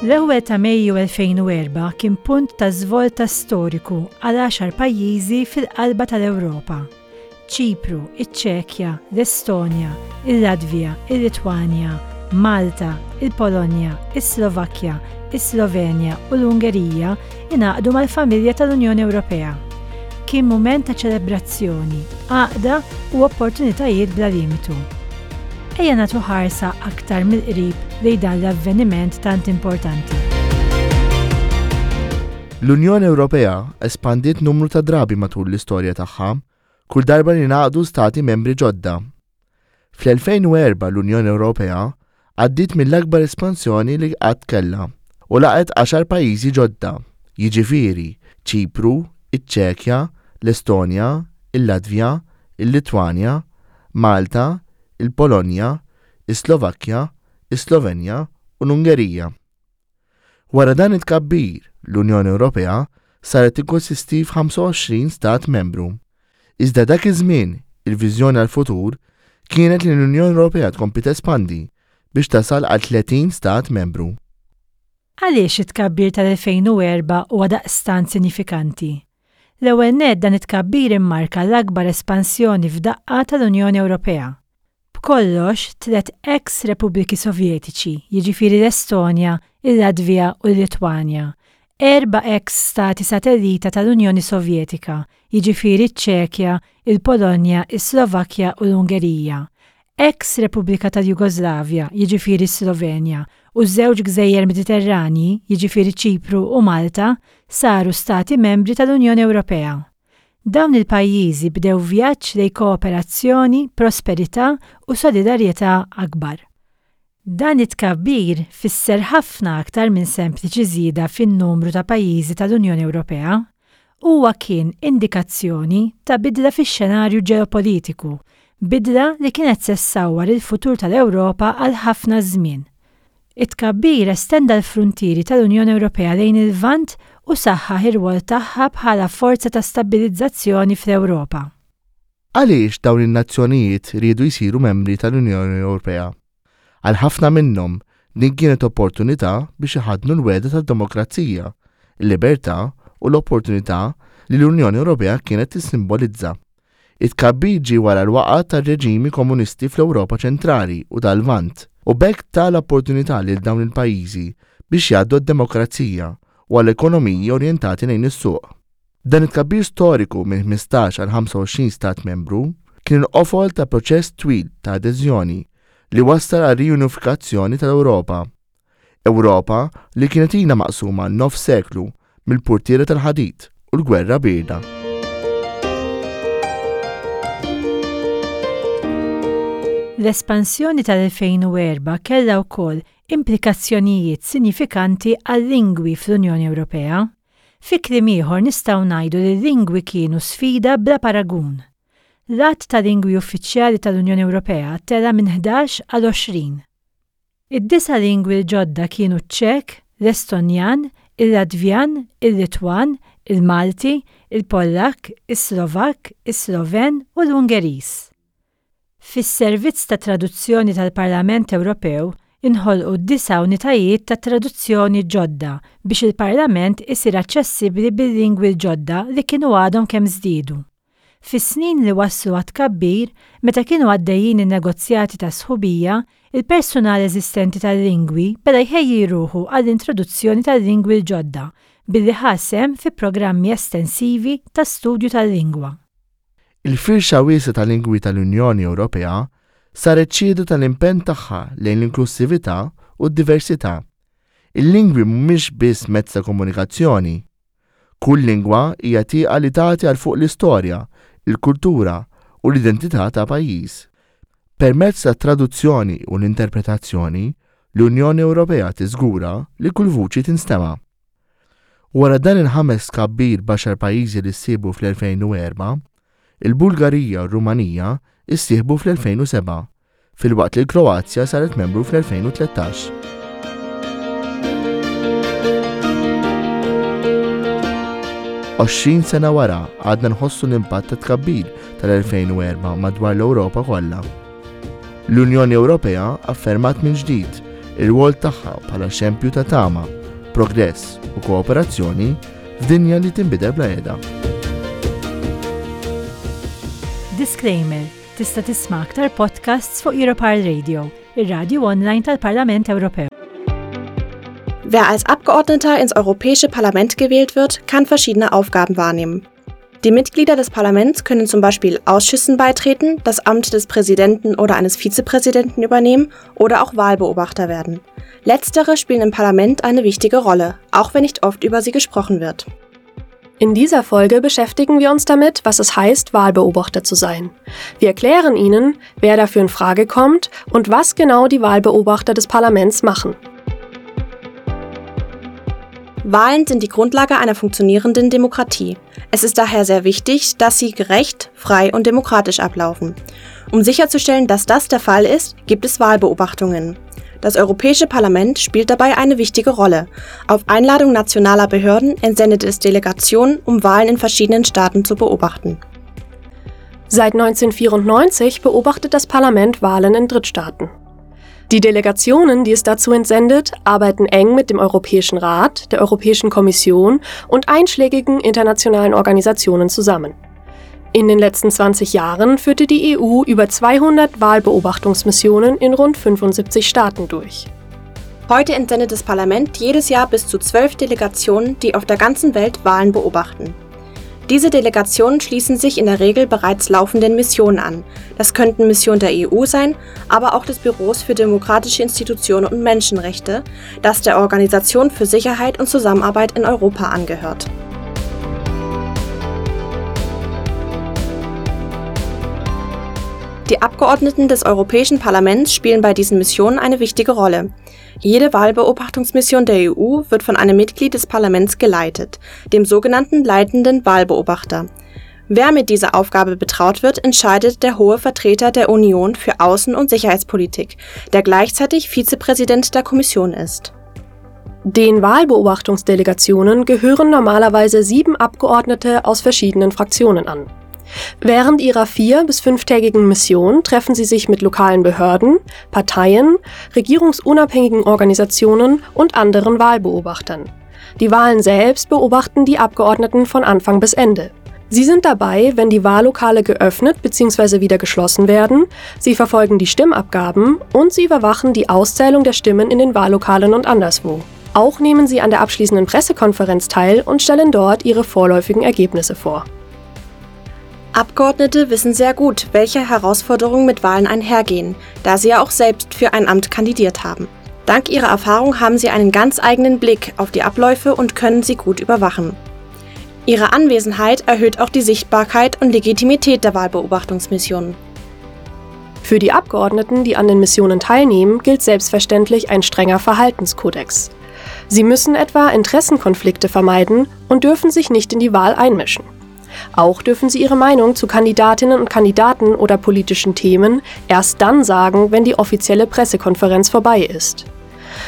L-ewwel ta' Mejju 2004 kien punt ta' żvolta storiku għal għaxar pajjiżi fil-qalba tal-Ewropa, Ċipru, iċ-Ċekja, l-Estonja, il-Latvja, il-Litwanja, Malta, il-Polonja, is-Slovakkja, is-Slovenja u l-Ungerija ingħaqdu mal-familja tal-Unjoni Ewropea. Kien mument ta' ċelebrazzjoni, għaqda u opportunitajiet bla limitu. Ejja nagħtu ħarsa aktar mill-qrib lejn dan l-avveniment tant importanti. L-Unjoni Ewropea espandiet numru ta' drabi matul l-istorja tagħha, kull darba li ngħaqdu stati membri ġodda. Fl-2004 l-Unjoni Ewropea għaddiet mill-akbar espansjoni li qatt kellha u laqgħet għaxar pajjiżi ġodda, jiġifieri Ċipru, iċ-Ċekja, l-Estonja, il-Latvja, il-Litwanja, Malta, il-Polonja, is-Slovakkja, is-Slovenja u l-Ungerija. Wara dan it-tkabbir, l-Unjoni Ewropea saret tikkonsisti f'25 stat membru. Iżda dak iż-żmien, il-viżjoni għall-futur kienet li l-Unjoni Ewropea tkompli tespandi biex tasal għal 30 stat membru. Għaliex it-tkabbir tal-2004 huwa daqstant sinifikanti? L-ewwel nett dan it-tkabbir immarka l-akbar espansjoni f'daqqa tal-Unjoni Ewropea. B'kollox, tlett eks Repubbliki Sovjetiċi, jiġifieri l-Estonja, il-Latvja u l-Litwanja, erba' eks stati satellita tal-Unjoni Sovjetika, jiġifieri ċ-Ċekja, il-Polonja, is-Slovakkja u l-Ungerija, eks Repubblika tal-Jugoslavja, jiġifieri s-Slovenja, u żewġ gżejjer Mediterranji, jiġifieri Ċipru u Malta, saru stati membri tal-Unjoni Ewropea. Dawn il-pajjiżi bdew vjaġġ lejn kooperazzjoni, prosperità u solidarjetà akbar. Dan it-tkabbir fisser ħafna aktar minn sempliċi żieda fin-numru ta' pajjiżi tal-Unjoni Ewropea. Huwa kien indikazzjoni ta' bidla fix-xenarju ġeopolitiku, bidla li kienet se ssawwar il-futur tal-Ewropa għal ħafna żmien. It-tkabbir estenda l-fruntieri tal-Unjoni Ewropea lejn il-Lvant u saħħaħ ir-rwol tagħha bħala forza ta' stabbilizzazzjoni fl-Ewropa. Għaliex dawn in-nazzjonijiet riedu jsiru membri tal-Unjoni Ewropea? Għal ħafna minnhom, din kienet opportunità biex iħaddnu l-wegħda tad-demokrazija, il-libertà u l-opportunità li l-Unjoni Ewropea kienet tissimbolizza. It-tkabbir ġie wara l-waqgħa tar-reġimi komunisti fl-Ewropa Ċentrali u tal-Lvant, u b'hekk ta l-opportunità lil dawn il-pajjiżi biex jgħaddu għad-demokrazija u għal ekonomiji orjentati lejn is-suq. Dan it-tkabbir storiku minn 15 għal 25 stat membru kien il-qofol ta' proċess twil ta' adeżjoni li wassal għar-riunifikazzjoni tal-Ewropa. Ewropa li kienet ilha maqsuma nofs seklu mill-purtiera tal-ħadid u l-gwerra bierda. L-espansjoni tal-2004 kellha wkoll implikazzjonijiet sinjifikanti għal-lingwi fl-Unjoni Ewropea. Fi kliem ieħor nistgħu ngħidu li l-lingwi kienu sfida bla paragun. L-għadd ta' lingwi uffiċjali tal-Unjoni Ewropea tela' minn 11 għal 20. Id-disa' lingwi l-ġodda kienu ċ-Ċek, l-Estonjan, il-Latvjan, il-Litwan, il-Malti, il-Pollakk, is-Slovakk, is-Sloven u l-Ungeriż. Fis-Servizz ta' Traduzzjoni tal-Parlament Ewropew inħolqu disa' unitajiet ta' traduzzjoni ġodda biex il-Parlament isir aċċessibbli bil-lingwi l-ġodda li kienu għadhom kemm żdiedu. Fis-snin li wasslu għat-tkabbir, meta kienu għaddejjin in-negozjati ta' sħubija, il-persunal eżistenti tal-lingwi beda jħejji ruħu għall-introduzzjoni tal-lingwi l-ġodda billi ħa sehem fi programmi estensivi ta' studju tal-lingwa. Il-firxa wiesgħa ta' lingwi tal-Unjoni Ewropea saret xhieda tal-impenn tagħha lejn l-inklussività u d-diversità. Il-lingwi mhumiex biss mezz ta' komunikazzjoni. Kull lingwa hija tieqa li tagħti għal fuq l-istorja, il-kultura u l-identità ta' pajjiż. Permezz tat-traduzzjoni u l-interpretazzjoni, l-Unjoni Ewropea tiżgura li kull vuċi tinstema'. Wara dan il-ħames tkabbir b'għaxar pajjiżi li ssieħbu fl-2004, il-Bulgarija u r-Rumanija ssieħbu fl-2007, filwaqt li l-Kroazja saret membru fl-2013. 20 sena wara għadna nħossu l-impatt ta' tkabbir tal-2004 madwar l-Ewropa kollha. L-Unjoni Ewropea affermat minn ġdid Ir-rwol tagħha bħala xempju ta' tama, progress u kooperazzjoni f'dinja li tinbidel bla heda. Disclaimer, Tista' tisma' aktar podcasts fuq Europarl Radio, ir-radju online tal-Parlament Ewropew. Wer als Abgeordneter ins Europäische Parlament gewählt wird, kann verschiedene Aufgaben wahrnehmen. Die Mitglieder des Parlaments können zum Beispiel Ausschüssen beitreten, das Amt des Präsidenten oder eines Vizepräsidenten übernehmen oder auch Wahlbeobachter werden. Letztere spielen im Parlament eine wichtige Rolle, auch wenn nicht oft über sie gesprochen wird. In dieser Folge beschäftigen wir uns damit, was es heißt, Wahlbeobachter zu sein. Wir erklären Ihnen, wer dafür in Frage kommt und was genau die Wahlbeobachter des Parlaments machen. Wahlen sind die Grundlage einer funktionierenden Demokratie. Es ist daher sehr wichtig, dass sie gerecht, frei und demokratisch ablaufen. Um sicherzustellen, dass das der Fall ist, gibt es Wahlbeobachtungen. Das Europäische Parlament spielt dabei eine wichtige Rolle. Auf Einladung nationaler Behörden entsendet es Delegationen, um Wahlen in verschiedenen Staaten zu beobachten. Seit 1994 beobachtet das Parlament Wahlen in Drittstaaten. Die Delegationen, die es dazu entsendet, arbeiten eng mit dem Europäischen Rat, der Europäischen Kommission und einschlägigen internationalen Organisationen zusammen. In den letzten 20 Jahren führte die EU über 200 Wahlbeobachtungsmissionen in rund 75 Staaten durch. Heute entsendet das Parlament jedes Jahr bis zu 12 Delegationen, die auf der ganzen Welt Wahlen beobachten. Diese Delegationen schließen sich in der Regel bereits laufenden Missionen an. Das könnten Missionen der EU sein, aber auch des Büros für demokratische Institutionen und Menschenrechte, das der Organisation für Sicherheit und Zusammenarbeit in Europa angehört. Die Abgeordneten des Europäischen Parlaments spielen bei diesen Missionen eine wichtige Rolle. Jede Wahlbeobachtungsmission der EU wird von einem Mitglied des Parlaments geleitet, dem sogenannten leitenden Wahlbeobachter. Wer mit dieser Aufgabe betraut wird, entscheidet der hohe Vertreter der Union für Außen- und Sicherheitspolitik, der gleichzeitig Vizepräsident der Kommission ist. Den Wahlbeobachtungsdelegationen gehören normalerweise 7 Abgeordnete aus verschiedenen Fraktionen an. Während ihrer 4- bis 5-tägigen Mission treffen sie sich mit lokalen Behörden, Parteien, regierungsunabhängigen Organisationen und anderen Wahlbeobachtern. Die Wahlen selbst beobachten die Abgeordneten von Anfang bis Ende. Sie sind dabei, wenn die Wahllokale geöffnet bzw. wieder geschlossen werden, sie verfolgen die Stimmabgaben und sie überwachen die Auszählung der Stimmen in den Wahllokalen und anderswo. Auch nehmen sie an der abschließenden Pressekonferenz teil und stellen dort ihre vorläufigen Ergebnisse vor. Abgeordnete wissen sehr gut, welche Herausforderungen mit Wahlen einhergehen, da sie ja auch selbst für ein Amt kandidiert haben. Dank ihrer Erfahrung haben sie einen ganz eigenen Blick auf die Abläufe und können sie gut überwachen. Ihre Anwesenheit erhöht auch die Sichtbarkeit und Legitimität der Wahlbeobachtungsmissionen. Für die Abgeordneten, die an den Missionen teilnehmen, gilt selbstverständlich ein strenger Verhaltenskodex. Sie müssen etwa Interessenkonflikte vermeiden und dürfen sich nicht in die Wahl einmischen. Auch dürfen sie ihre Meinung zu Kandidatinnen und Kandidaten oder politischen Themen erst dann sagen, wenn die offizielle Pressekonferenz vorbei ist.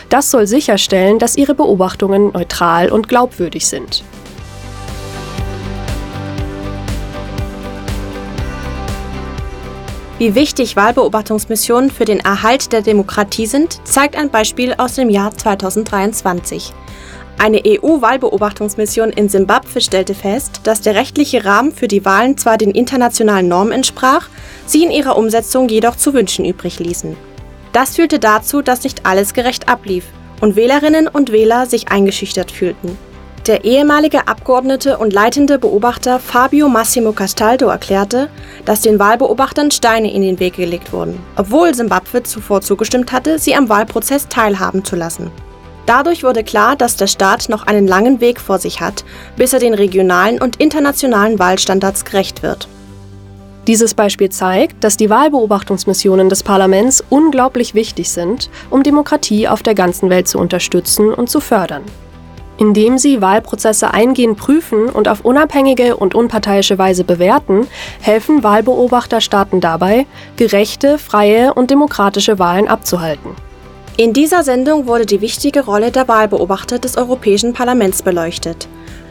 Das soll sicherstellen, dass ihre Beobachtungen neutral und glaubwürdig sind. Wie wichtig Wahlbeobachtungsmissionen für den Erhalt der Demokratie sind, zeigt ein Beispiel aus dem Jahr 2023. Eine E EU-Wahlbeobachtungsmission in Simbabwe stellte fest, dass der rechtliche Rahmen für die Wahlen zwar den internationalen Normen entsprach, sie in ihrer Umsetzung jedoch zu wünschen übrig ließen. Das führte dazu, dass nicht alles gerecht ablief und Wählerinnen und Wähler sich eingeschüchtert fühlten. Der ehemalige Abgeordnete und leitende Beobachter Fabio Massimo Castaldo erklärte, dass den Wahlbeobachtern Steine in den Weg gelegt wurden, obwohl Simbabwe zuvor zugestimmt hatte, sie am Wahlprozess teilhaben zu lassen. Dadurch wurde klar, dass der Staat noch einen langen Weg vor sich hat, bis er den regionalen und internationalen Wahlstandards gerecht wird. Dieses Beispiel zeigt, dass die Wahlbeobachtungsmissionen des Parlaments unglaublich wichtig sind, um Demokratie auf der ganzen Welt zu unterstützen und zu fördern. Indem sie Wahlprozesse eingehend prüfen und auf unabhängige und unparteiische Weise bewerten, helfen Wahlbeobachterstaaten dabei, gerechte, freie und demokratische Wahlen abzuhalten. In dieser Sendung wurde die wichtige Rolle der Wahlbeobachter des Europäischen Parlaments beleuchtet.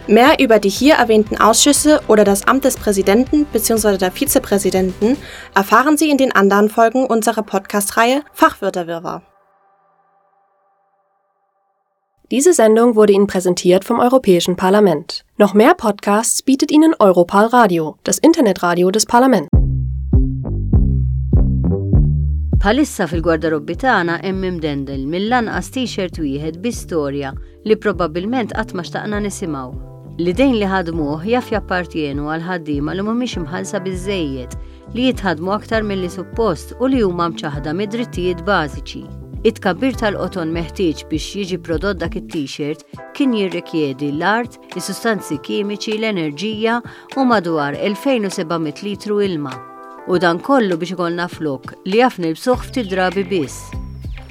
Mehr über die hier erwähnten Ausschüsse oder das Amt des Präsidenten bzw. der Vizepräsidenten erfahren Sie in den anderen Folgen unserer Podcast-Reihe Fachwörterwirrwarr. Diese Sendung wurde Ihnen präsentiert vom Europäischen Parlament. Noch mehr Podcasts bietet Ihnen Europal Radio, das Internetradio des Parlaments. Bħalissa fil-gwardarobbi tagħna hemm imdendel mill-anqas t-shirt wieħed bi storja li probabbilment qatt ma xtaqna nisimgħu. L-idejn li ħadmuh jaf jappartjenu għal ħaddiema li mhumiex imħallsa biżżejjed, li jitħaddmu aktar milli suppost u li huma mċaħħda mid-drittijiet bażiċi. It-tkabbir tal-qoton meħtieġ biex jiġi prodott dak it-t-shirt kien jirrikjedi l-art, is-sustanzi kimiċi, l-enerġija u madwar 2700 litru ilma. U dan kollu biex ikollna flokk li jaf nilbsuh ftit drabi biss.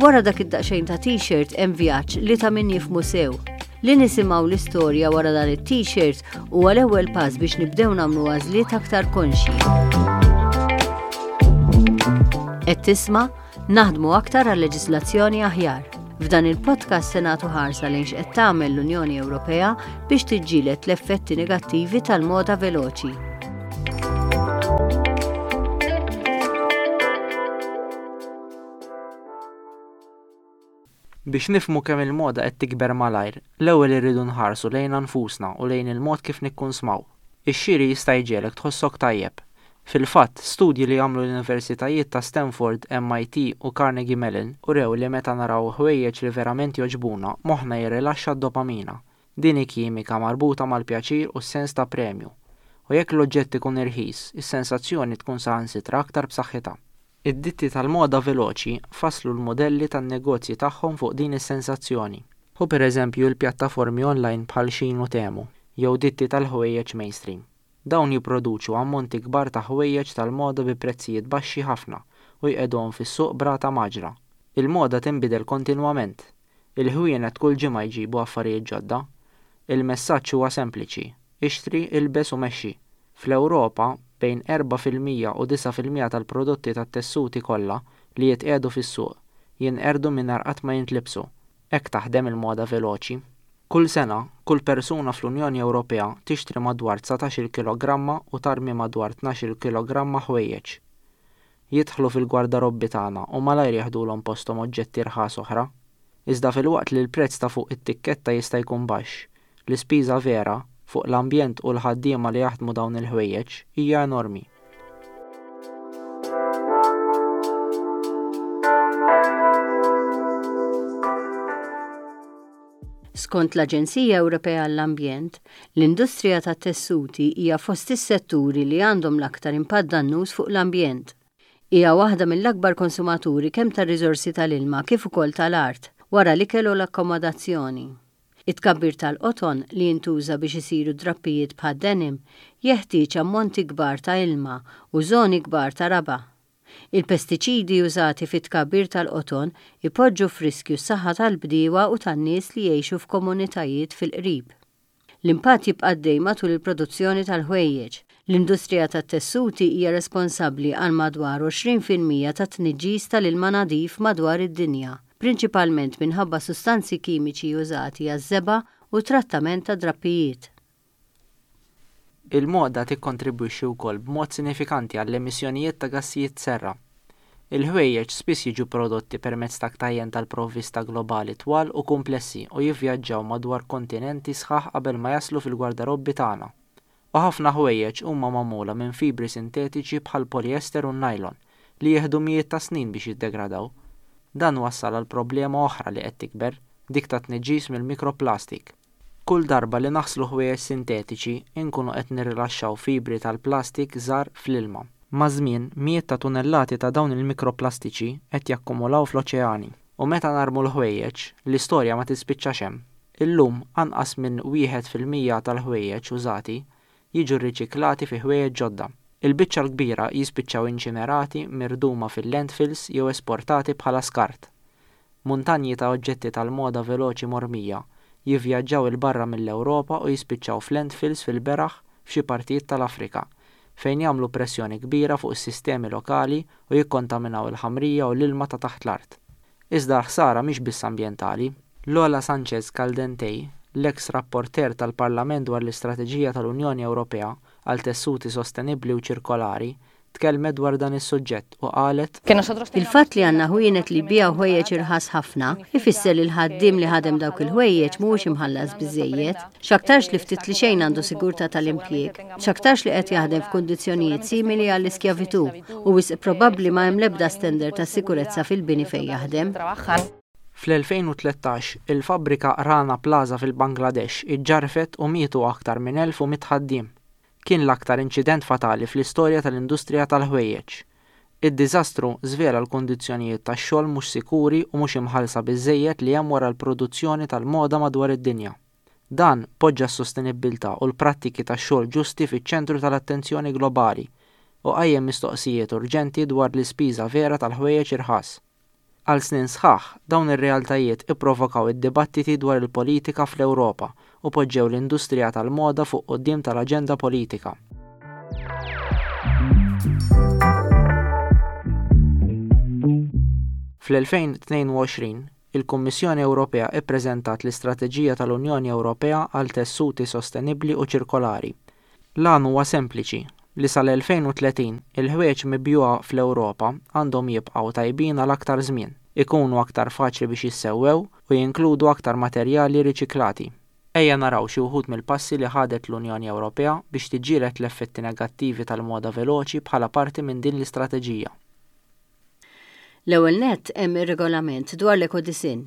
Wara dak id-daqsxejn ta' t-shirt hemm vjaġġ li ta' min jifhmu sew. Li nisimgħu l-istorja wara dan it-t-shirt huwa l-ewwel pass biex nibdew nagħmlu għażliet aktar konxji. Qed tisma' Naħdmu aktar għal leġislazzjoni aħjar. F'dan il-podcast se nagħtu ħarsa lejn x'qed tagħmel l-Unjoni Ewropea biex tiġġieled l-effetti negattivi tal-moda veloċi. Biex nifhmu kemm il-moda qed tikber malajr, l-ewwel irridu nħarsu lejna nfusna u lejn il-mod kif nikkunsmaw. Ix-xiri jista' jġegħlek tħossok tajjeb. Fil-fatt, studji li għamlu l-universitajiet ta' Stanford, MIT u Carnegie Mellon urew li meta naraw ħwejjeġ li verament jogħġbuna, moħħna jirrilaxxa d-dopamina. Din hi kimika marbuta mal-pjaċir u s-sens ta' premju. U jekk l-oġġett ikun irħis, is-sensazzjoni tkun saħansitra aktar b'saħħitha. Id-ditti tal-moda veloċi fasslu l-mudelli tan-negozji tagħhom fuq din is-sensazzjoni. Ħu pereżempju l-pjattaformi online bħal Shein u Temu, jew ditti tal-ħwejjeġ mainstream. Dawn jipproduċu ammonti kbar ta' ħwejjeġ tal-moda bi prezzijiet baxxi ħafna u jqegħduhom fis-suq b'rata mgħaġġla. Il-moda tinbidel kontinwament. Il-ħwienet kull ġimgħa jġibu affarijiet ġodda. Il-messaġġ huwa sempliċi, ixtri, ilbes u mexxi. Fl-Ewropa, bejn 4% u 9% tal-prodotti tat-tessuti kollha li jitqiegħdu fis-suq, jinqerdu mingħajr qatt ma jintlibsu. Hekk taħdem il-moda veloċi. Kull sena, kull persuna fl-Unjoni Ewropea tixtri madwar 19-il kilogramma u tarmi madwar 12-il kilogramma ħwejjeġ. Jidħlu fil-gwardarobbi tagħna u malajr jeħdulhom posthom oġġetti rħas oħra. Iżda filwaqt li l-prezz ta' fuq it-tikketta jista' jkun baxx, l-ispiża vera, fuq l-ambjent u l-ħaddiema li jaħdmu dawn il-ħwejjeġ, hija enormi. Skont l-Aġenzija Ewropea għall-Ambjent, l-industrija tat-tessuti hija fost is-setturi li għandhom l-aktar impatt dannuż fuq l-ambjent. Hija waħda mill-akbar konsumaturi kemm tar-riżorsi tal-ilma kif ukoll tal-art, wara l-ikel u l-akkomodazzjoni. It-tkabbir tal-qoton, li jintuża biex isiru drappijiet bħad-denim, jeħtieġ ammonti kbar ta' ilma u żoni kbar ta' raba'. Il-pestiċidi użati fit-tkabbir tal-qoton ipoġġu f'riskju s-saħħa tal-bdiewa u tan-nies li jgħixu f'komunitajiet fil-qrib. L-impatt jibqa' għaddej matul il-produzzjoni tal-ħwejjeġ. L-industrija tat-tessuti hija responsabbli għal madwar 20% tat-tniġġis tal-ilma nadif madwar id-dinja, prinċipalment minħabba sustanzi kimiċi użati għaż-żebgħa u t-trattament tad-drappijiet. Il-moda tikkontribwixxi wkoll b'mod sinifikanti għall-emissjonijiet ta' gassijiet serra. Il-ħwejjeġ spiss jiġu prodotti permezz ta' ktajjen tal-provvista globali twal u kumplessi u jivvjaġġaw madwar kontinenti sħaħ qabel ma jaslu fil-gwardarobbi tagħna. U ħafna ħwejjeġ huma magħmula minn fibri sintetiċi bħall-polyester u n-nylon, li jieħdu mijiet ta' snin biex jiddegradaw. Dan wassal għal problema oħra li qed tikber, dik tat-tniġġis mill-mikroplastik. Kull darba li naħslu ħwejjeġ sintetiċi, inkunu qed nirrilaxxaw fibri tal-plastik żgħar fl-ilma. Maż-żmien, mijiet ta' tunellati ta' dawn il-mikroplastiċi qed jakkumulaw fl-oċeani. U meta narmu l-ħwejjeġ, l-istorja ma tispiċċax hemm. Illum, anqas minn 1% tal-ħwejjeġ użati jiġu rriċiklati fi ħwejjeġ ġodda. Il-biċċa l-kbira jispiċċaw inċinerati, mirduma fil-landfills jew esportati bħala skart. Muntanji ta' oġġetti tal-moda veloċi mormija jivvjaġġaw 'il barra mill-Ewropa u jispiċċaw f'landfills fil-beraħ f'xi partijiet tal-Afrika, fejn jagħmlu pressjoni kbira fuq is-sistemi lokali u jikkontaminaw il-ħamrija u l-ilma ta' taħt l-art. Iżda l-ħsara mhix biss ambjentali. Lola Sanchez Caldentey, l-eks rapporteur tal-Parlament dwar l-istrateġija tal-Unjoni Ewropea għal tessuti sostenibbli u ċirkolari, tkellmet dwar dan is-suġġett u qalet, Il-fatt li għandna ħwienet li jbigħu ħwejjeġ irħas ħafna, ifisser li l-ħaddiem li ħadem dawk il-ħwejjeġ mhuwiex imħallas biżżejjed. X'aktarx li ftit li xejn għandu sigurtà tal-impjieg. X'aktarx li qed jaħdem f'kundizzjonijiet simili għall-iskjavitù u wisq probabbli ma hemm l-ebda standard ta' sikurezza fil-bini fejn jaħdem. Fl-2013, il-fabbrika Rana Plaza fil-Bangladesh iġġarrfet u mietu aktar minn 1,100 ħaddiem. Kien l-aktar inċident fatali fl-istorja tal-industrija tal-ħwejjeġ. Id-diżastru żvela l-kundizzjonijiet tax-xogħol mhux sikuri u mhux imħallsa biżżejjed li hemm wara l-produzzjoni tal-moda madwar id-dinja. Dan poġġa s-sostenibbiltà u l-prattiki tax-xogħol ġusti fiċ-ċentru tal-attenzjoni globali u qajjem mistoqsijiet urġenti dwar l-ispiża vera tal-ħwejjeġ irħas. Għal snin sħaħ, dawn ir-realtajiet ipprovokaw id-dibattiti dwar il-politika fl-Ewropa u poġġew l-industrija tal-moda fuq quddiem tal-aġenda politika. Fl-2022, il-Kummissjoni Ewropea ppreżentat l-Istrateġija tal-Unjoni Ewropea għal Tessuti Sostenibbli u Ċirkolari, L-għan huwa sempliċi, li sal-2030 il-ħwejjeġ mibjugħa fl-Ewropa għandhom jibqgħu tajbin għal aktar żmien, ikunu aktar faċli biex jissewwew u jinkludu aktar materjali riċiklati. Ejja naraw xi wħud mill-passi li ħadet l-Unjoni Ewropea biex tiġġieled l-effetti negattivi tal-moda veloċi bħala parti minn din l-istrateġija. L-ewwel nett hemm ir-Regolament dwar l-Ekodisinn.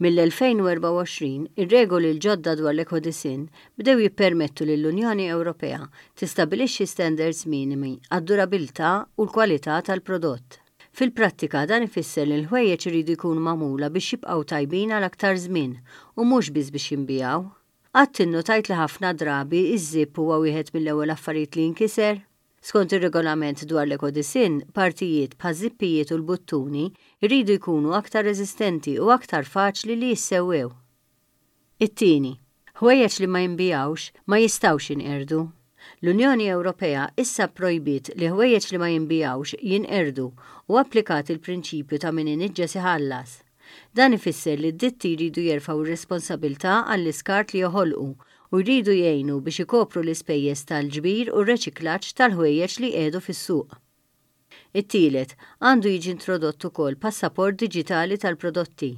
Mill-2024, ir-regoli l-ġodda dwar l-ekodisinn bdew jippermettu lill-Unjoni Ewropea tistabbilixxi standards minimi għad-durabilità u l-kwalità tal-prodott. Fil-prattika, dan ifisser li l-ħwejjeġ iridu jkunu magħmula biex jibqgħu tajbin għal aktar żmien u mhux biss biex jinbiegħu. Qatt innutajt li ħafna drabi ż-żipp huwa wieħed mill-ewwel affarijiet li jinkiser? Skont ir-Regolament dwar l-Ekodisinn, partijiet bħaż-żippijiet u l-buttuni jridu jkunu aktar reżistenti u aktar faċli li jissewwew. It-tieni, ħwejjeġ li ma jinbigħux ma jistgħux jinqerdu. L-Unjoni Ewropea issa pprojbiet li ħwejjeġ li ma jinbigħux jinqerdu u applikat il-prinċipju ta' min iniġġes iħallas. Dan ifisser li d-ditti jridu jerfgħu r-responsabilità għall-iskart li joħolqu u jridu jgħinu biex ikopru l-ispejjeż tal-ġbir u r-reċiklaġġ tal-ħwejjeġ li jqiegħdu fis-suq. It-tielet, għandu jiġi introdott ukoll passaport diġitali tal-prodotti.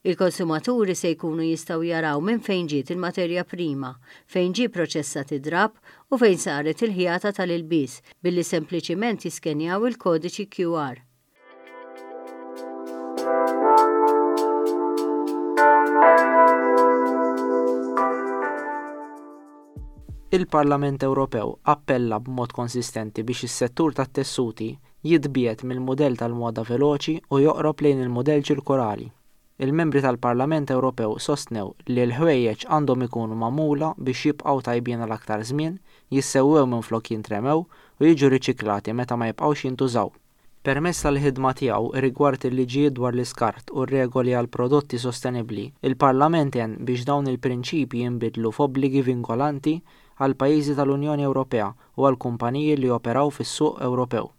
Il-konsumaturi se jkunu jistgħu jaraw minn fejn ġiet il-materja prima, fejn ġie proċessat id-drapp u fejn saret il-ħjata tal-ilbies billi sempliċiment jiskenjaw il-kodiċi QR. Il-Parlament Ewropew appella b'mod konsistenti biex is-settur tat-tessuti jitbiegħed mill-mudell tal-moda veloċi u joqrob lejn il-mudell ċirkolari. Il-Membri tal-Parlament Ewropew sostnew li l-ħwejjeġ għandhom ikunu magħmula biex jibqgħu tajbin għal aktar żmien, jissewwew minflok jintremew u jiġu riċiklati meta ma jibqgħux jintużaw. Permezz tal-ħidma tiegħu rigward il-liġijiet dwar l-iskart u r-regoli għal prodotti sostenibbli, il-Parlament għen biex dawn il-prinċipji jinbidlu f'obbligi vinkolanti għall-pajjiżi tal-Unjoni Ewropea u għall-kumpaniji li joperaw fis-suq Ewropew.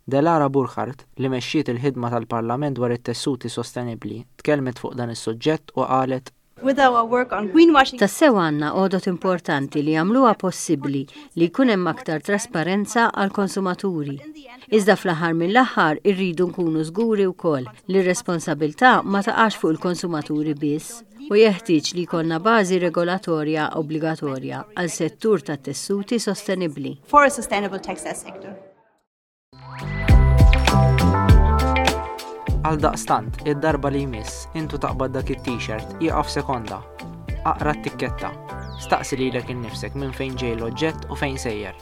Delara Burkhardt, li mexxiet il-ħidma tal-Parlament dwar it-tessuti sostenibbli, tkellmet fuq dan is-suġġett u qalet, With our work on greenwashing. Tassew għandna għodod importanti li jagħmluha possibbli li jkun hemm aktar trasparenza għall-konsumaturi. Iżda fl-aħħar mill-aħħar irridu nkunu żguri wkoll li r-responsabilità ma taqax fuq il-konsumaturi biss u jeħtieġ li jkollna bażi regolatorja obbligatorja għal settur tat-tessuti sostenibbli. For a sustainable textile sector. Għaldaqstant, id-darba li jmiss, intu taqbad dak it-t-shirt, ieqaf sekonda. Aqra t-tikketta. Staqsi lilek innifsek minn fejn ġej l-oġġett u fejn sejjer.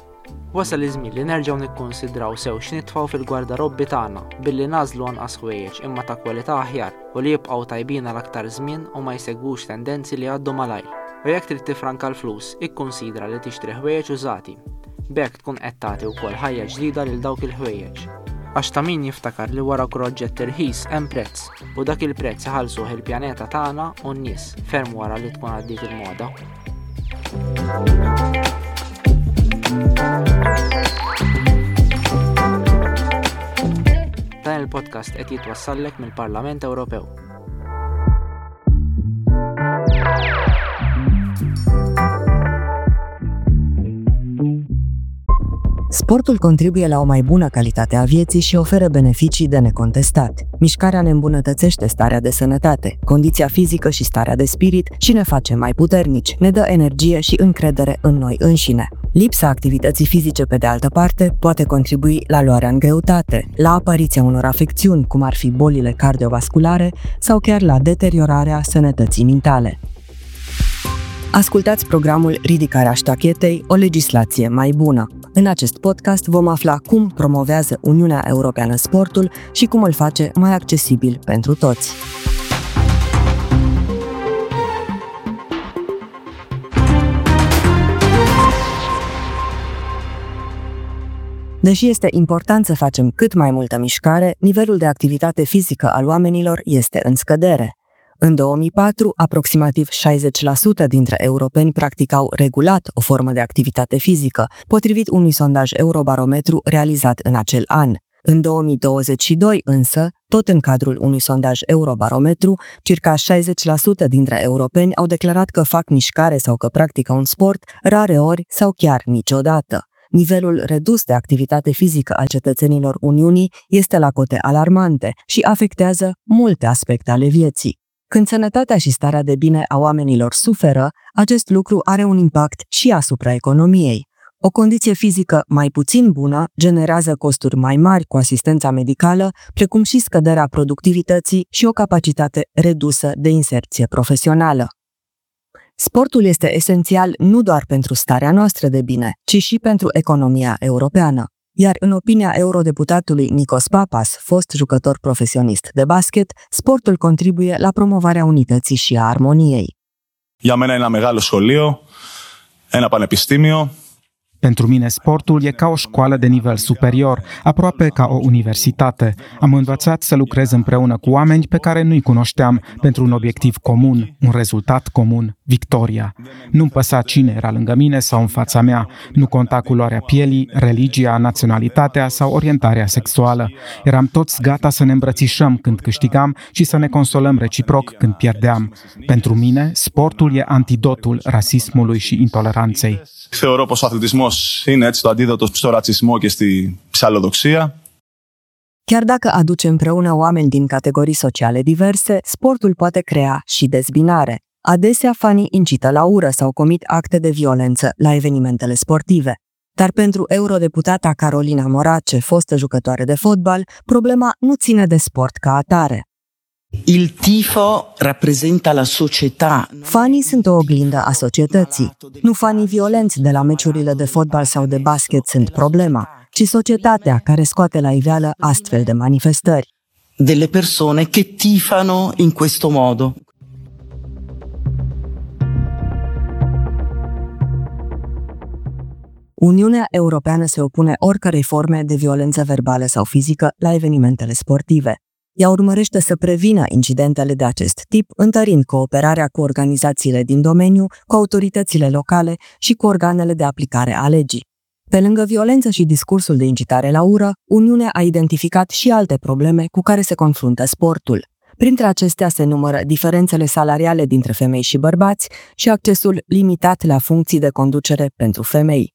Wasal iż-żmien li nerġgħu nikkunsidraw sew x'nitfgħu fil-gwardarobbi tagħna billi nagħżlu anqas ħwejjeġ imma ta' kwalità aħjar u li jibqgħu tajbin għal aktar żmien u ma jsegwux tendenzi li jgħaddu malajr. U jekk trid tiffranka l-flus, ikkunsidra li tixtri ħwejjeġ użati. B'hekk tkun qed tagħti wkoll ħajja ġdida lil dawk il-ħwejjeġ. Għax ta' min jiftakar li wara kull oġġett irħis hemm prezz, u dak il-prezz iħallsuh il-pjaneta tagħna u n-nies, ferm wara li tkun għaddiet il-moda. Dan il-podcast qed jitwassallek mill-Parlament Ewropew. Sportul contribuie la o mai bună calitate a vieții și oferă beneficii de necontestat. Mișcarea ne îmbunătățește starea de sănătate, condiția fizică și starea de spirit și ne face mai puternici, ne dă energie și încredere în noi înșine. Lipsa activității fizice, pe de altă parte, poate contribui la luarea în greutate, la apariția unor afecțiuni, cum ar fi bolile cardiovasculare sau chiar la deteriorarea sănătății mentale. Ascultați programul Ridicarea ștachetei, o legislație mai bună. În acest podcast vom afla cum promovează Uniunea Europeană sportul și cum îl face mai accesibil pentru toți. Deși este important să facem cât mai multă mișcare, nivelul de activitate fizică al oamenilor este în scădere. În 2004, aproximativ 60% dintre europeni practicau regulat o formă de activitate fizică, potrivit unui sondaj Eurobarometru realizat în acel an. În 2022 însă, tot în cadrul unui sondaj Eurobarometru, circa 60% dintre europeni au declarat că fac mișcare sau că practică un sport rareori sau chiar niciodată. Nivelul redus de activitate fizică al cetățenilor Uniunii este la cote alarmante și afectează multe aspecte ale vieții. Când sănătatea și starea de bine a oamenilor suferă, acest lucru are un impact și asupra economiei. O condiție fizică mai puțin bună generează costuri mai mari cu asistența medicală, precum și scăderea productivității și o capacitate redusă de inserție profesională. Sportul este esențial nu doar pentru starea noastră de bine, ci și pentru economia europeană. Iar în opinia eurodeputatului Nikos Papas, fost jucător profesionist de basket, sportul contribuie la promovarea unității și a armoniei. Για μένα είναι ένα μεγάλο σχολείο, ένα πανεπιστήμιο. Pentru mine sportul e ca o școală de nivel superior, aproape ca o universitate. Am învățat să lucrez împreună cu oameni pe care nu-i cunoșteam, pentru un obiectiv comun, un rezultat comun, victoria. Nu-mi păsa cine era lângă mine sau în fața mea, nu conta culoarea pielii, religia, naționalitatea sau orientarea sexuală. Eram toți gata să ne îmbrățișăm când câștigam și să ne consolăm reciproc când pierdeam. Pentru mine, sportul e antidotul rasismului și intoleranței. Θεωρώ πως ο αθλητισμός είναι έτσι το αντίδοτο στο ρατσισμό και στη ψαλλοδοξία. Chiar dacă aduce împreună oameni din categorii sociale diverse, sportul poate crea și dezbinare. Adesea, fanii incită la ură sau comit acte de violență la evenimentele sportive. Dar pentru eurodeputata Carolina Morace, fostă jucătoare de fotbal, problema nu ține de sport ca atare. Il tifo rappresenta la società. Fanii sunt o oglindă a societății. Nu fanii violenți de la meciurile de fotbal sau de basket sunt problema, ci societatea care scoate la iveală astfel de manifestări. Delle persone che tifano in questo modo. Uniunea Europeană se opune oricărei forme de violență verbală sau fizică la evenimentele sportive. Ea urmărește să prevină incidentele de acest tip, întărind cooperarea cu organizațiile din domeniu, cu autoritățile locale și cu organele de aplicare a legii. Pe lângă violență și discursul de incitare la ură, Uniunea a identificat și alte probleme cu care se confruntă sportul. Printre acestea se numără diferențele salariale dintre femei și bărbați și accesul limitat la funcții de conducere pentru femei.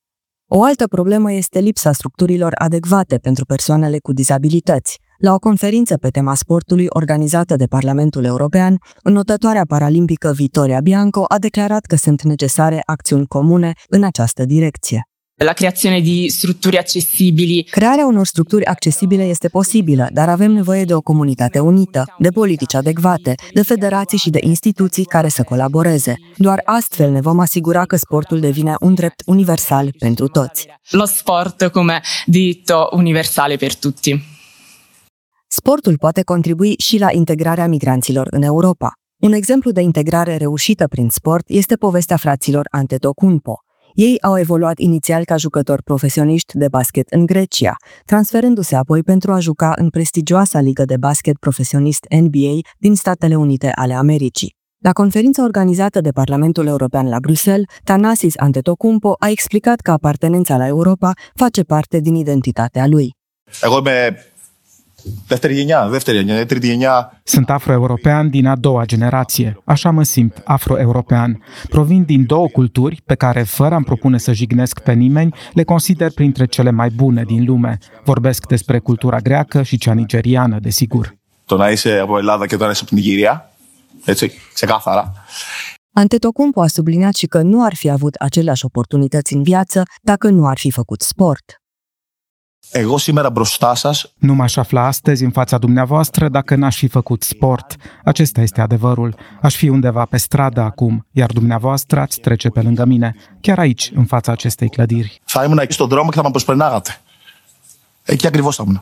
O altă problemă este lipsa structurilor adecvate pentru persoanele cu dizabilități. La o conferință pe tema sportului organizată de Parlamentul European, înotătoarea paralimpică Vittoria Bianco a declarat că sunt necesare acțiuni comune în această direcție. La creazione di strutture accessibili. Crearea unor structuri accesibile este posibilă, dar avem nevoie de o comunitate unită, de politici adecvate, de federații și de instituții care să colaboreze. Doar astfel ne vom asigura că sportul devine un drept universal pentru toți. Lo sport come diritto universale per tutti. Sportul poate contribui și la integrarea migranților în Europa. Un exemplu de integrare reușită prin sport este povestea fraților Antetokounmpo. Ei au evoluat inițial ca jucători profesioniști de basket în Grecia, transferându-se apoi pentru a juca în prestigioasa ligă de basket profesionist NBA din Statele Unite ale Americii. La conferința organizată de Parlamentul European la Bruxelles, Thanasis Antetokounmpo a explicat că apartenența la Europa face parte din identitatea lui. Εγώ είμαι Δεύτερη γενιά, δεύτερη γενιά, τρίτη γενιά. Sunt afroeuropean din a doua generație. Așa mă simt, afroeuropean. Provin din două culturi pe care, fără a-mi propune să jignesc pe nimeni, le consider printre cele mai bune din lume. Vorbesc despre cultura greacă și cea nigeriană, desigur. Το να είσαι από Ελλάδα και το να είσαι από την Νιγηρία, έτσι, ξεκάθαρα. Antetokounmpo a subliniat și că nu ar fi avut aceleași oportunități în viață dacă nu ar fi făcut sport. Εγώ σήμερα μπροστά σας Nu m-aș afla astăzi în fața dumneavoastră dacă n-aș fi făcut sport. Acesta este adevărul. Aș fi undeva pe stradă acum, iar dumneavoastră ați trece pe lângă mine, chiar aici, în fața acestei clădiri. Θα ήμουν εκεί στον δρόμο και θα με προσπερνάγατε. Εκεί ακριβώς θα ήμουν.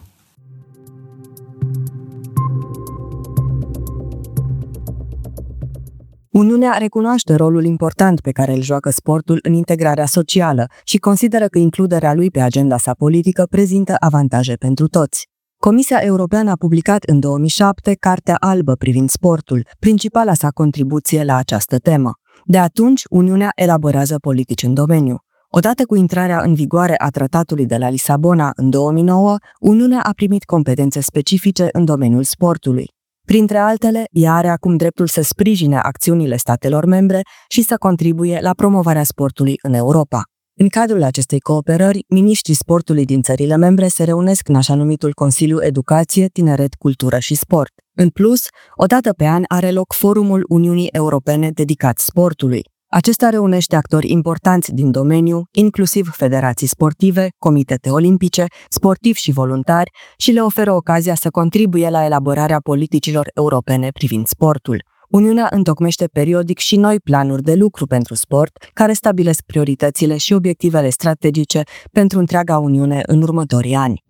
Uniunea recunoaște rolul important pe care îl joacă sportul în integrarea socială și consideră că includerea lui pe agenda sa politică prezintă avantaje pentru toți. Comisia Europeană a publicat în 2007 Cartea Albă privind sportul, principala sa contribuție la această temă. De atunci, Uniunea elaborează politici în domeniu. Odată cu intrarea în vigoare a Tratatului de la Lisabona în 2009, Uniunea a primit competențe specifice în domeniul sportului. Printre altele, ea are acum dreptul să sprijine acțiunile statelor membre și să contribuie la promovarea sportului în Europa. În cadrul acestei cooperări, miniștrii sportului din țările membre se reunesc în așa numitul Consiliu Educație, Tineret, Cultură și Sport. În plus, o dată pe an are loc Forumul Uniunii Europene dedicat sportului. Acesta reunește actori importanți din domeniu, inclusiv federații sportive, comitete olimpice, sportivi și voluntari, și le oferă ocazia să contribuie la elaborarea politicilor europene privind sportul. Uniunea întocmește periodic și noi planuri de lucru pentru sport, care stabilesc prioritățile și obiectivele strategice pentru întreaga Uniune în următorii ani.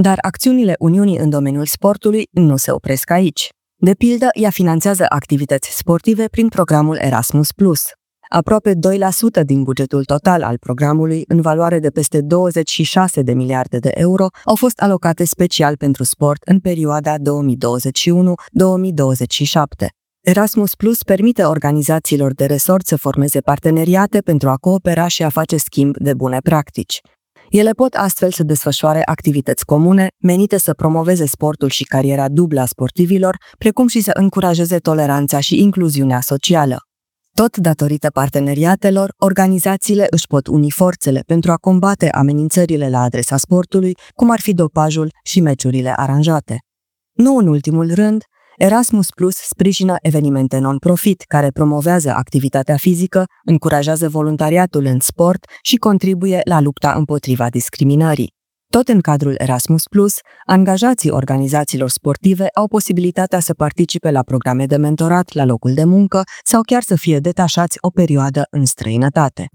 Dar acțiunile Uniunii în domeniul sportului nu se opresc aici. De pildă, ea finanțează activități sportive prin programul Erasmus+. Aproape 2% din bugetul total al programului, în valoare de peste 26 de miliarde de euro, au fost alocate special pentru sport în perioada 2021-2027. Erasmus Plus permite organizațiilor de resort să formeze parteneriate pentru a coopera și a face schimb de bune practici. Ele pot astfel să desfășoare activități comune menite să promoveze sportul și cariera dublă a sportivilor, precum și să încurajeze toleranța și incluziunea socială. Tot datorită parteneriatelor, organizațiile își pot uni forțele pentru a combate amenințările la adresa sportului, cum ar fi dopajul și meciurile aranjate. Nu în ultimul rând, Erasmus Plus sprijină evenimente non-profit care promovează activitatea fizică, încurajează voluntariatul în sport și contribuie la lupta împotriva discriminării. Tot în cadrul Erasmus Plus, angajații organizațiilor sportive au posibilitatea să participe la programe de mentorat la locul de muncă sau chiar să fie detașați o perioadă în străinătate.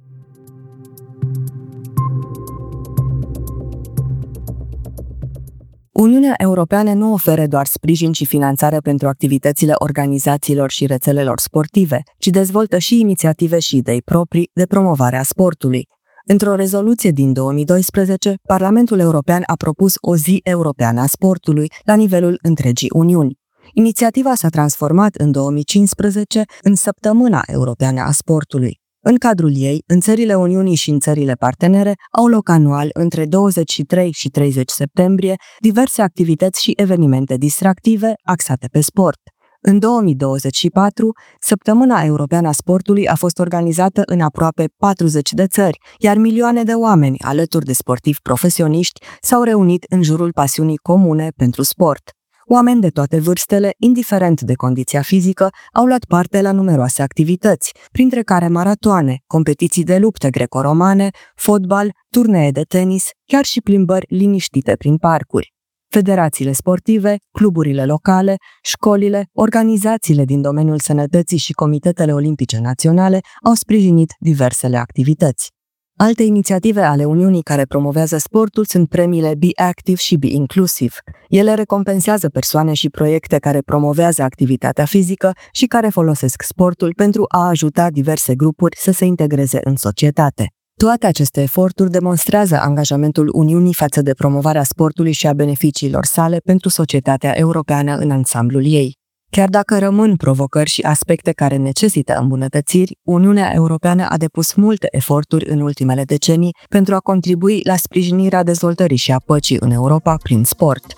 Uniunea Europeană nu oferă doar sprijin și finanțare pentru activitățile organizațiilor și rețelelor sportive, ci dezvoltă și inițiative și idei proprii de promovare a sportului. Într-o rezoluție din 2012, Parlamentul European a propus o zi europeană a sportului la nivelul întregii Uniuni. Inițiativa s-a transformat în 2015 în Săptămâna Europeană a Sportului. În cadrul ei, în țările Uniunii și în țările partenere, au loc anual, între 23 și 30 septembrie, diverse activități și evenimente distractive axate pe sport. În 2024, Săptămâna Europeană a Sportului a fost organizată în aproape 40 de țări, iar milioane de oameni, alături de sportivi profesioniști, s-au reunit în jurul pasiunii comune pentru sport. Oameni de toate vârstele, indiferent de condiția fizică, au luat parte la numeroase activități, printre care maratoane, competiții de lupte greco-romane, fotbal, turnee de tenis, chiar și plimbări liniștite prin parcuri. Federațiile sportive, cluburile locale, școlile, organizațiile din domeniul sănătății și comitetele olimpice naționale au sprijinit diversele activități. Alte inițiative ale Uniunii care promovează sportul sunt premiile Be Active și Be Inclusive. Ele recompensează persoane și proiecte care promovează activitatea fizică și care folosesc sportul pentru a ajuta diverse grupuri să se integreze în societate. Toate aceste eforturi demonstrează angajamentul Uniunii față de promovarea sportului și a beneficiilor sale pentru societatea europeană în ansamblul ei. Chiar dacă rămân provocări și aspecte care necesită îmbunătățiri, Uniunea Europeană a depus multe eforturi în ultimele decenii pentru a contribui la sprijinirea dezvoltării și a păcii în Europa prin sport.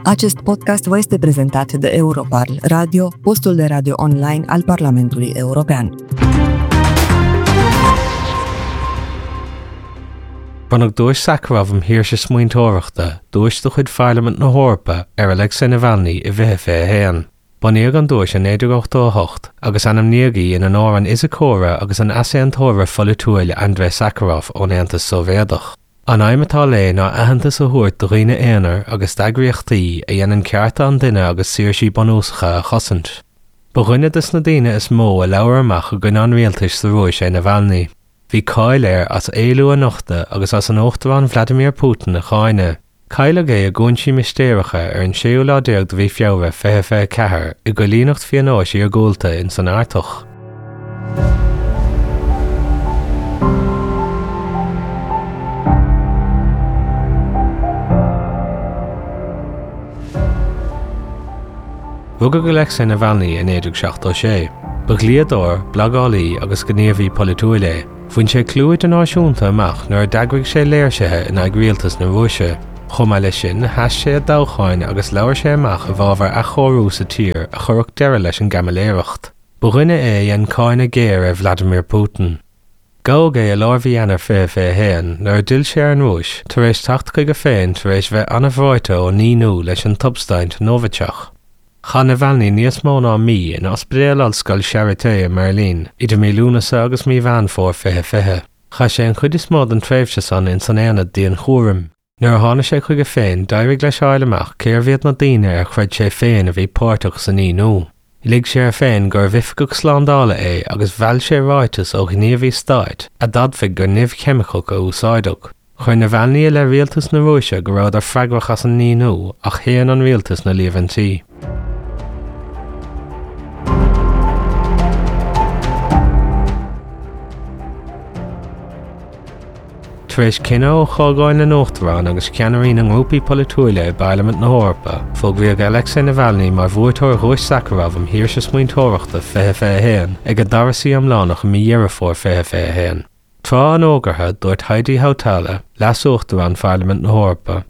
Acest podcast vă este prezentat de Europarl Radio, postul de radio online al Parlamentului European. Bronnadh Duais Sakharov um Shaoirse Smaointeoireachta, duais de chuid Pharlaimint na hEorpa, ar Alexei Navalny i 2021. Bunaíodh an duais i 1988 agus ainmníodh í in onóir an fhisiceora agus an easaontóra pholaitiúil Andrei Sakharov ón Aontas Sóivéadach. An aidhm atá léi ná aitheantas a thabhairt do dhaoine aonair agus d'eagraíochtaí a dhéanann cearta an duine agus saoirsí bunúsacha a chosaint. Ba dhuine de na daoine is mó a labhair amach i gcoinne an rialtais sa Rúis é Navalny. Bhí cáil air as éilliú a nochtadh agus as an Uachtarán Vladimir Putin a cháineadh. Cailleadh é i gcúinsí mistéireacha ar an séú lá déag de mhí Feabhra 2024 i gcoilíneacht phionóis iargúlta ins an Artach. Rugadh Alexei Navalny i 1976. Ba dhlíodóir, blagálaí agus gníomhaí polaitiúil é. Bhain sé clú idirnáisiúnta amach nuair a d'eagraigh sé léirsithe in aghaidh rialtas na Rúise. Chomh maith leis sin, sheas sé i dtoghcháin agus labhair sé amach i bhfabhar athchóiriú sa tír a chuirfeadh deireadh leis an gcaimiléireacht. Ba dhuine é a dhein cáineadh géar ar Vladimir Putin. Gabhadh é i lár mhí Eanáir 2021 nuair a d'fhill sé ar an Rúis tar éis teacht chuige féin tar éis bheith an-bhreoite ón íonú leis an tsubstaint Novichok. Chaith Navalny níos mó ná mí in Ospidéal Ollscoil Charité i mBeirlín idir mí Lúnasa agus mí Mheán Fómhair 2020. Chaith sé an chuid is mó den tréimhse san ins an aonad dianchúraim. Nuair a tháinig sé chuige féin, d'éirigh leis a fháil amach cérbh iad na daoine ar chreid sé féin a bhí páirteach san íonú. Lig sé air féin gurbh oifigeach slándála é agus mheall sé ráiteas ó ghníomhaí stáit a d'admhaigh gur nimh cheimiceach a úsáideadh. Chuir Navalny i leith rialtas na Rúise go rabhadar freagrach as an íonú ach shéan an rialtas na líomhaintí. Tar éis cinneadh ó Chomhdháil na nUachtarán agus cheannairí na ngrúpaí polaitiúila i bParlaimint na hEorpa, fógraíodh Alexei Navalny mar bhuaiteoir Dhuais Sakharov um Shaoirse Smaointeoireachta 2021 ag a dara suí iomlánach i mí Dheireadh Fómhair 2021. Tráth an fhógartha, dúirt Heidi Hautala, Leas-Uachtarán Pharlaimint na hEorpa.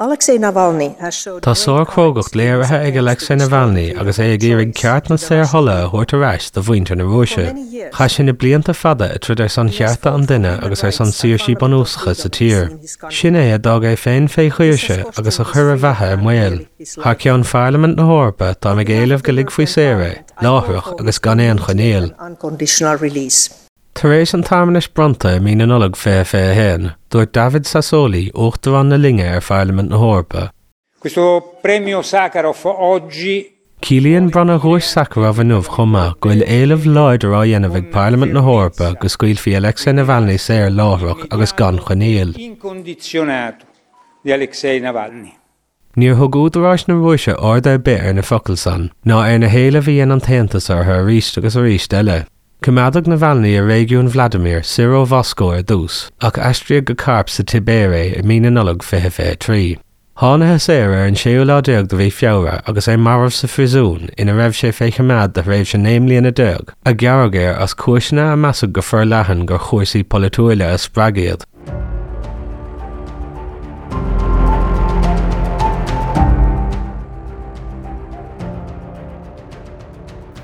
Alexei Navalny has showed Tá sárchrógacht léirithe ag Alexei Navalny agus é ag iarraidh ceart na saorthola a thabhairt ar ais do mhuintir na Rúise. Chaith sé na blianta fada ag troid ar son chearta an duine agus ar son saoirsí bunúsacha sa tír. Sin é a d'fhág é féin fé dhaoirse agus a chuir a bheatha i mbaol. Thar ceann Pharlaimint na hEorpa, táim ag éileamh go ligfí saor é, láithreach agus gan aon choinníoll. Tar éis an tsearmanais bronnta i mí na Nollag 2021, dúirt David Sassoli, Uachtarán na linne ar Pharlaimint na hEorpa. Questo premio Sakharov oggi. Ciallaíonn bronnadh Dhuais Sakharov inniu chomh maith go bhfuil éileamh láidir á dhéanamh ag Parlaimint na hEorpa go scaoilfí Alexei Navalny saor láithreach agus gan choinníoll. Incondizionato di Alexei Navalny. Níor thug údaráis na Rúise aird ar bith ar na focail san, ná ar na héilimh a dhein an tAontas orthu arís agus arís eile. Coimeádadh Navalny i réigiún Vladimir, soir ó Mhoscó ar dtús, ach aistríodh go Kharp sa tSibéir é i mí na Nollag 2023. Thánathas air ar an séú lá déag de mhí Feabhra agus é marbh sa phríosún ina raibh sé fé choimeád do thréimhse 19 mbliana, a gearradh air as cúiseanna a measadh go forleathan gur chúrsaí polaitiúila a spreag iad.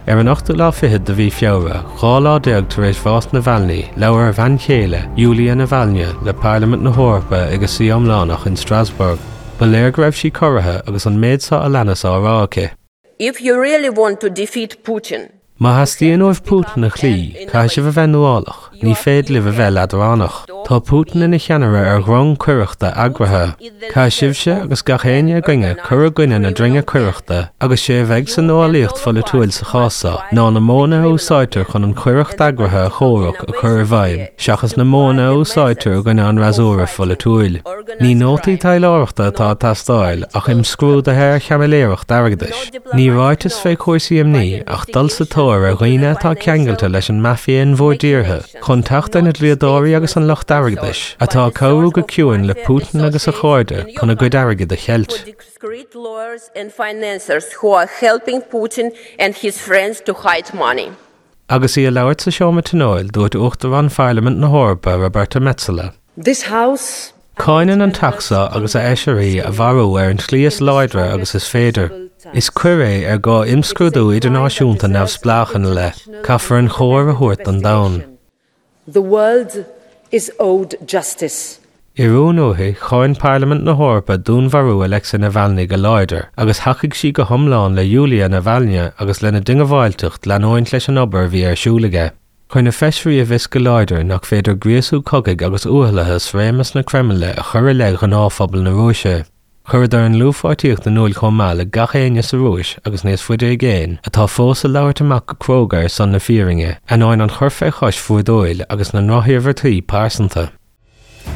Ar an ochtú lá fichead de mhí Feabhra, 12 lá tar éis bhás Navalny, labhair a bhean chéile, Yulia Navalnaya, le Parlaimint na hEorpa ag a suí iomlánach in Strasbourg. Ba léir go raibh sí corraithe agus an méid seo a leanas á rá aici. If you really want to defeat Putin. Má theastaíonn uaibh Putin a chloí, caithfidh sibh a bheith nuálach, ní féidir libh a bheith leadránach. Tá Putin ina cheannaire ar dhrong coireachta eagraithe. Caithfidh sibhse agus gach éinne againne cur i gcoinne na droinge coireachta agus sé a bheidh sa nuálaíocht pholaitiúil sa chás seo ná na modhanna a úsáidtear chun an choireacht eagraithe a chomhrac a chur i bhfeidhm seachas na modhanna a úsáidtear i gcoinne an fhreasúra pholaitiúil. Ní nótaí taidhleoireachta atá ag teastáil ach imscrúduithe ar chaimiléireacht airgeadais. Ní ráitis fé chúrsaí imní ach dul sa tóir ar dhaoine atá ceangailte leis an mafia in bhur dtíortha. Chun teacht ar na dlíodóirí agus an lucht airgeadais, atá ag cabhrú go ciúin le Putin agus a chairde chun a gcuid airgid a cheilt. Agus í ag labhairt sa seomra tionóil, dúirt Uachtarán Pharlaimint na hEorpa, Roberta Metsola. This House. Cáineann an Teach seo agus a Fheisirí a mharú ar an tslí is láidre agus is féidir. Is coir é ar gá imscrúdú idirnáisiúnta neamhspleách ina leith. Caithfear an chóir a thabhairt don domhan. The world is owed justice. I rún uaithi, cháin Parlaimint na hEorpa dúnmharú Alexei Navalny go láidir agus thacaigh sí go hiomlán le Yulia Navalnaya agus lena diongbháilteacht leanúint leis an obair a bhí ar siúl aige. Chuir na feisirí i bhfios go láidir nach féidir gríosú cogaidh agus uathlathas réimeas na Creimile a chur i leith ghnáthphobal na Rúise. Chuireadar a ndlúthpháirtíocht in iúl chomh maith le gach éinne sa Rúis agus níos faide i gcéin atá fós ag labhairt amach go cróga ar son na fírinne, ainneoin an chur fé chois bhrúidiúil agus na ndrochiarmhairtí pearsanta.